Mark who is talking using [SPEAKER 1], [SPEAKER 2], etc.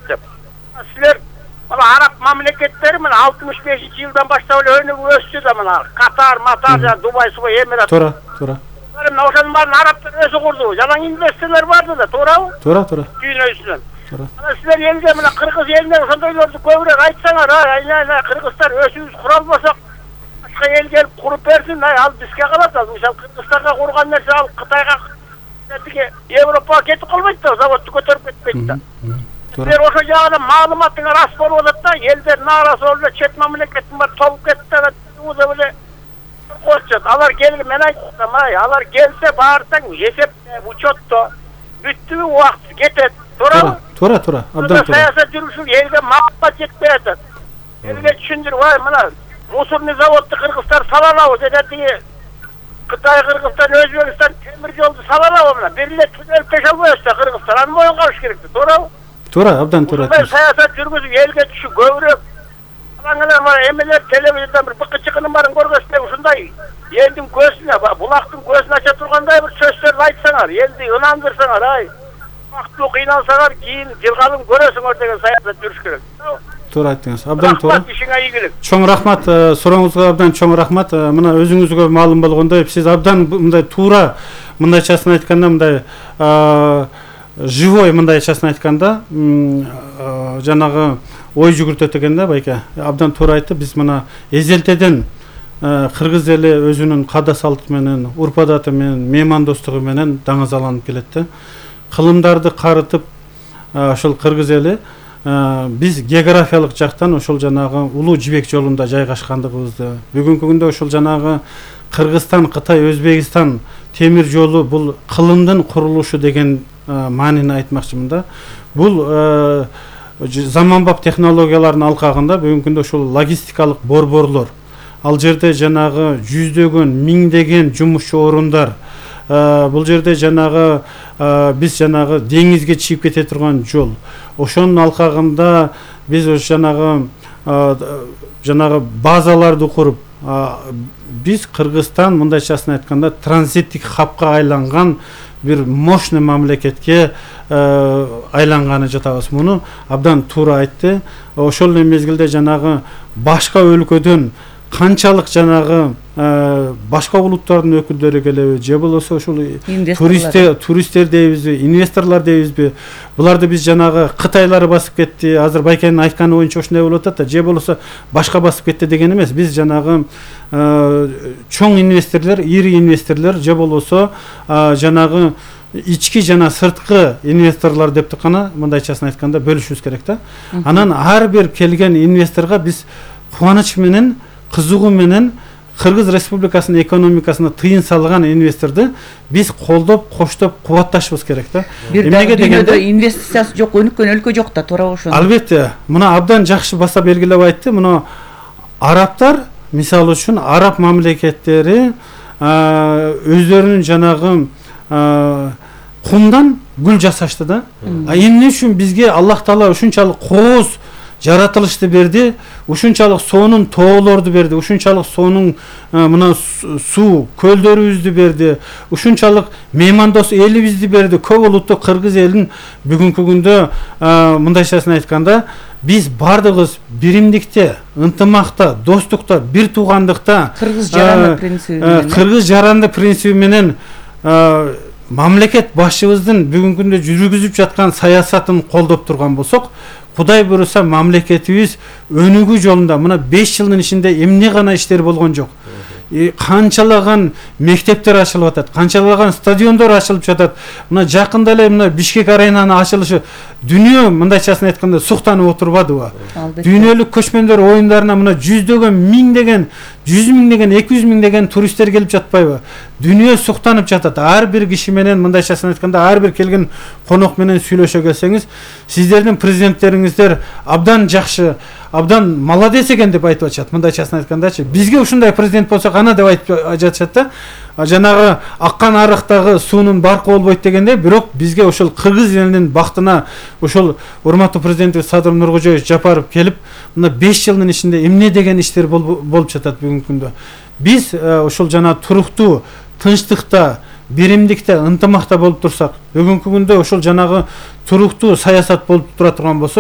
[SPEAKER 1] деп. Силер мына араб мамлекеттери мына 65-жылдан баштап эле өнүгүп өстү да мына Катар, Дубай, Эмират.
[SPEAKER 2] Туура.
[SPEAKER 1] Мына ошонун баарын арабтар өзү курду. Жалаң инвесторлор барды да, туурабы?
[SPEAKER 2] Туура.
[SPEAKER 1] Дүйнөсүнөн. Мына силер элге мына Кыргыз элине ошондойлорду көбүрөөк айтсаңар, айна Кыргызстан өзүбүз кура албасак, башка эл келип куруп берсин, ал бизге калат. Ал мисалы Кыргызстанга курган нерсе ал Кытайга, Европага кетип калбайт да, заводду көтөрүп кетпейт да. Силер ошол жагынан маалыматыңар рас болуп атат да, элдер нааразы болуп эле чет мамлекеттин баары толуп кетти да, деп эле коечат. Алар келип мен айттым, алар келсе баартаң эсепте, учетто бүттү убакыт кетет.
[SPEAKER 2] Туура. Абдан туура.
[SPEAKER 1] Саясат жүргүзүп элге маалымат жетпей атат. Элге түшүндүрүп, мына мусорный заводду Кыргызстан сала алабыз деп, Кытай, Кыргызстан, Өзбекстан темир жолду сала алабы мына. Бир эле түзөлүп теше албайбыз да Кыргызстан. Аны моюнга алыш керек да, туурабы?
[SPEAKER 2] Туура, абдан туура.
[SPEAKER 1] Саясат жүргүзүп элге түшүп көбүрөөк алаңалар бар, эмелер телевизордон бир быкы-чыкынын баарын көргөзсөң, ушундай элдин көзүнө, булактын көзүн ача тургандай бир сөздөрдү айтсаңар, элди ынандырсаңар, бактылуу кыйналсаңар, кийин жылгалым көрөсүңөр деген саясат жүрүш керек.
[SPEAKER 2] Туура айттыңыз. Абдан туура.
[SPEAKER 1] Ишиңе ийгилик.
[SPEAKER 2] Чоң рахмат, сурооңузга абдан чоң рахмат. Мына өзүңүзгө маалым болгондой, сиз абдан мындай туура, мындайчасын айтканда мындай живой мындайчасын айтканда жанагы ой жүгүртөт экен да байке. Абдан туура айтты. Биз мына эзелтеден кыргыз эли өзүнүн када салты менен, урп адаты менен, меймандостугу менен даңазаланып келет да. Кылымдарды карытып ошол кыргыз эли биз географиялык жактан ошол жанагы улуу жибек жолунда жайгашкандыгыбызды, бүгүнкү күндө ошол жанагы Кыргызстан, Кытай, Өзбекстан темир жолу бул кылымдын курулушу деген маанини айтмакчымын да. Бул заманбап технологиялардын алкагында бүгүнкү күндө ошол логистикалык борборлор, ал жерде жанагы жүздөгөн, миңдеген жумушчу орундар, бул жерде жанагы биз жанагы деңизге чыгып кете турган жол. Ошонун алкагында биз жанагы базаларды куруп, биз Кыргызстан мындайчасын айтканда транзиттик хабка айланган бир мощный мамлекетке айланганы жатабыз. Муну абдан туура айтты. Ошол эле мезгилде жанагы башка өлкөдөн канчалык жанагы башка улуттардын өкүлдөрү келеби, же болбосо ошол туристтер дейбизби, инвесторлор дейбизби, буларды биз жанагы Кытайлар басып кетти, азыр байкенин айтканы боюнча ошондой болуп атат да, же болбосо башка басып кетти деген эмес. Биз жанагы чоң инвесторлор, ири инвесторлор, же болбосо жанагы ички жана сырткы инвесторлор деп гана мындайчасын айтканда бөлүшүбүз керек да. Анан ар бир келген инвесторго биз кубаныч менен, кызыгуу менен Кыргыз Республикасынын экономикасына тыйын салган инвесторду биз колдоп, коштоп, кубатташыбыз керек да.
[SPEAKER 3] Эмнеге дегенде инвестициясы жок, өнүккөн өлкө жок да, туурабы ошону?
[SPEAKER 2] Албетте. Мына абдан жакшы баса белгилеп айтты. Мына арабтар, мисалы үчүн араб мамлекеттери өздөрүнүн жанагы кумдан гүл жасашты да. Эмне үчүн бизге Аллах Таала ушунчалык кооз жаратылышты берди, ушунчалык сонун тоолорду берди, ушунчалык сонун мына суу көлдөрүбүздү берди, ушунчалык меймандос элибизди берди. Көп улуттуу кыргыз элин бүгүнкү күндө мындайчасын айтканда биз бардыгыбыз биримдикте, ынтымакта, достукта, бир туугандыкта, кыргыз жаранды принциби менен мамлекет башчыбыздын бүгүнкү күндө жүргүзүп жаткан саясатын колдоп турган болсок, Кудай буюрса мамлекетибиз өнүгүү жолунда мына 5 жылдын ичинде эмне гана иштер болгон жок. Канчалаган мектептер ачылып атат, канчалаган стадиондор ачылып жатат. Мына жакында эле мына Бишкек аренанын ачылышы дүйнө мындайчасын айтканда суктанып отурбадыбы? Дүйнөлүк көчмөндөр оюндарына мына жүздөгөн, миңдеген, 100 миңдеген, 200 миңдеген туристтер келип жатпайбы? Дүйнө суктанып жатат. Ар бир киши менен мындайчасын айтканда ар бир келген конок менен сүйлөшө келсеңиз, сиздердин президенттериңиздер абдан жакшы, абдан молодец экен деп айтып атышат. Мындайчасын айткандачы, бизге ушундай президент болсо кана деп айтып жатышат да. Жанагы аккан арыктагы суунун баркы болбойт дегенде, бирок бизге ошол кыргыз элинин бактына ошол урматтуу президентибиз Садыр Нуркожоевич Жапаров келип, мына 5 жылдын ичинде эмне деген иштер болуп жатат бүгүнкү күндө. Биз ошол жана туруктуу, тынчтыкта, биримдикте, ынтымакта болуп турсак, бүгүнкү күндө ошол жанагы туруктуу саясат болуп тура турган болсо,